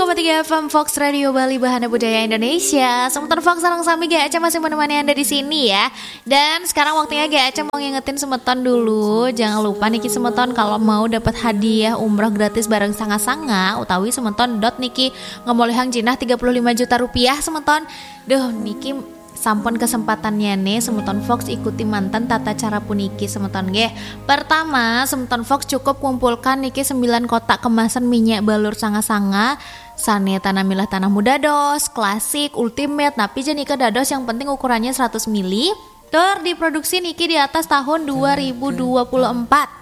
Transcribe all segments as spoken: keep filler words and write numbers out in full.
Tiga F M Fox Radio Bali, Bahana Budaya Indonesia. Semeton Fox, sareng sami, G A C masih menemani Anda di sini ya. Dan sekarang waktunya G A C mau ngingetin semeton dulu. Jangan lupa niki semeton, kalau mau dapat hadiah umroh gratis bareng Sanga-Sanga utawi semeton dot niki ngemolihang jinah tiga puluh lima juta rupiah semeton. Duh, niki sampun kesempatannya nih, semeton Fox ikuti manten tata cara puniki semeton nggih. Pertama, semeton Fox cukup kumpulkan niki sembilan kotak kemasan minyak balur Sanga-Sanga. Sane tanamilah tanah muda dos, klasik, ultimate, napi ja nika dados, yang penting ukurannya seratus mili. Tur diproduksi niki di atas tahun dua ribu dua puluh empat.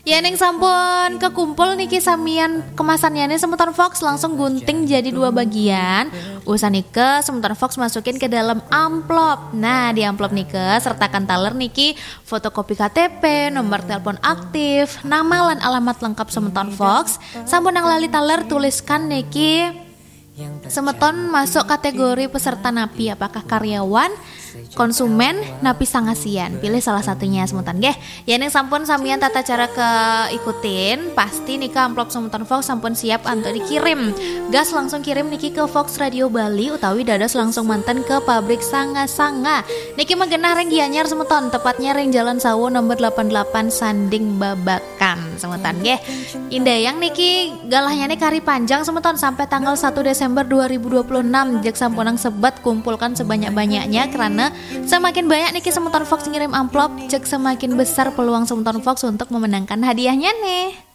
Yening sampun kekumpul niki samian kemasannya nih, semeton Fox langsung gunting jadi dua bagian. Usan nika semeton Fox masukin ke dalam amplop. Nah, di amplop nika sertakan taler niki fotokopi K T P, nomor telepon aktif, nama lan alamat lengkap semeton Fox. Sampun nang lali taler, tuliskan niki semeton masuk kategori peserta napi, apakah karyawan, konsumen, napi sangasian. Pilih salah satunya semeton nggih. Yening sampun samian tata cara keikutin, pasti nika amplop semeton Fox sampun siap untuk dikirim. Gas langsung kirim niki ke Fox Radio Bali utawi dados langsung manten ke pabrik Sanga-Sanga. Niki mah genah ring Gianyar semeton, tepatnya ring Jalan Sawo nomor delapan delapan Sanding Babakan semeton nggih. Indayang niki galahnya nih kari panjang semeton sampai tanggal satu Desember dua ribu dua puluh enam. Jeg sampunang sebet, kumpulkan sebanyak-banyaknya, karena semakin banyak niki semeton Fox ngirim amplop, jeg semakin besar peluang semeton Fox untuk memenangkan hadiahnya nih.